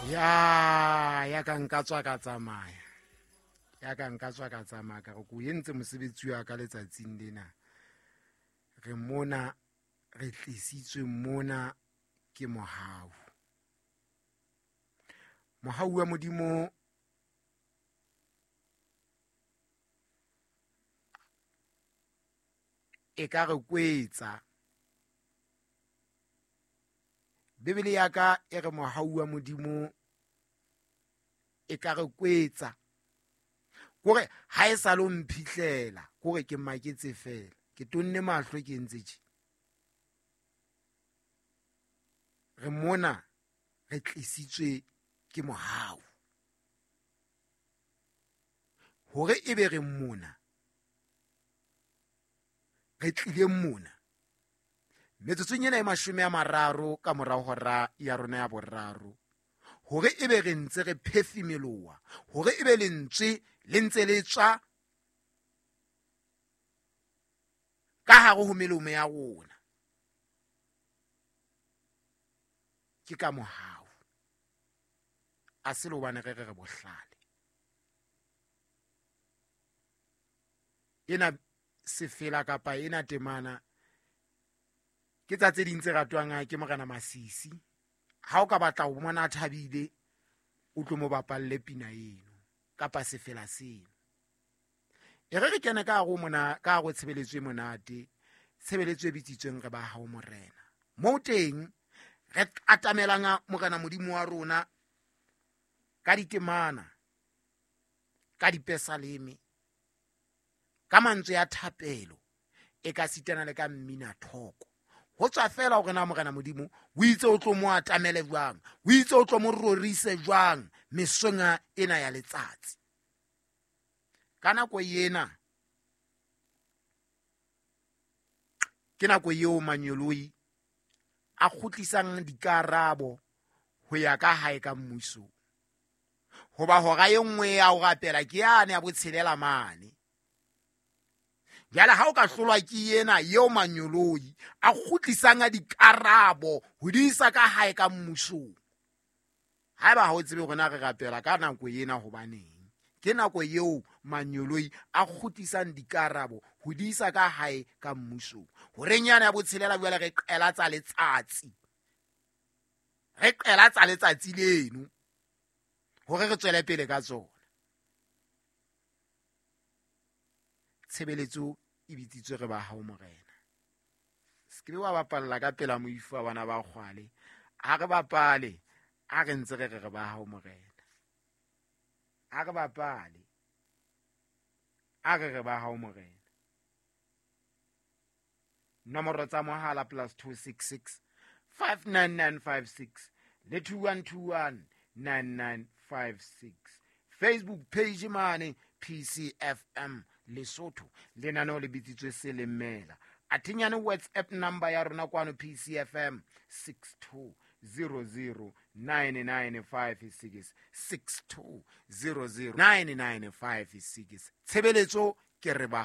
Ya ka nka tswa ka tsamaya, ya ka nka tswa ka tsamaya, ka re ko entse mosebetsi wa ka letsatsing lena. Re mona, re tlisitswe mona ke mohau. Mohau wa Modimo e ka re kwetsa. Bibele ya ka e re mohau wa Modimo e ka re kwetsa. Kore ha e sa lo mphihlela, kore ke maketse fela. Ke tonne mahlo ke ntse tje. Re mona re tlisitswe ke mohau. Hore ebe re mona, re tlile mona. Metsotsong ena e 30 ka mora hora ya rona ya boraro, hore ebe re ntse re phefimeloa, hore ebe lentswe le ntse le tswa ka hare ho melomo ya rona, ke ka mohau. A se le hobane re re re bohlale. Ena sefela kapa ena temana ke tsa tse ding tse ratwang ke Morena Masisi. Ha o ka batla ho bona a thabile, o tlo mo bapalle pina eno kapa sefela seno. E re re kene ka hare ho mona, ka hare ho tshebeletso e monate, tshebeletso e bitsitsweng re ba hao Morena. Moo teng re atamelang Morena Modimo wa rona ka ditemana, ka dipesaleme, ka mantswe a thapelo, e ka sitana le ka mmina thoko. Ho tswa fela hore na Morena Modimo o itse o tlo mo atamele jwang, o itse o tlo mo rorise jwang mesong ena ya letsatsi. Ka nako ena ke nako eo manyoloi a kgutlisang dikarabo ho ya ka hae ka mmuso. Hoba hora e nngwe ya ho rapela ke yane ya botshelela mane. Jwale ha o ka hlolwa ke ena eo manyoloi a kgutlisang a dikarabo ho di isa ka hae ka mmusong. Haeba ha o tsebe hore na re rapela ka nako ena hobaneng, ke nako eo manyoloi a kgutlisang dikarabo ho di isa ka hae ka mmusong. Horeng yane ya botshelela jwale re qela tsa letsatsi. Re qela tsa letsatsi leno hore re tswele pele ka tsona. Tshebeletso e bitsitswe re ba hao Morena. Se ke be wa bapalla ka pela moifo wa bana ba kgwale. Ha re bapale, ha re ntse re re re ba hao Morena. Ha re bapale, ha re re ba hao Morena. Nomoro tsa mohala +266 59956 le 2121 9956. Facebook page mane PCFM Lesotho, lenaneo le bitsitswe Selemela. Athinyane WhatsApp number ya rona kwano PCFM 62009956, 62009956. Tshebeletso ke re ba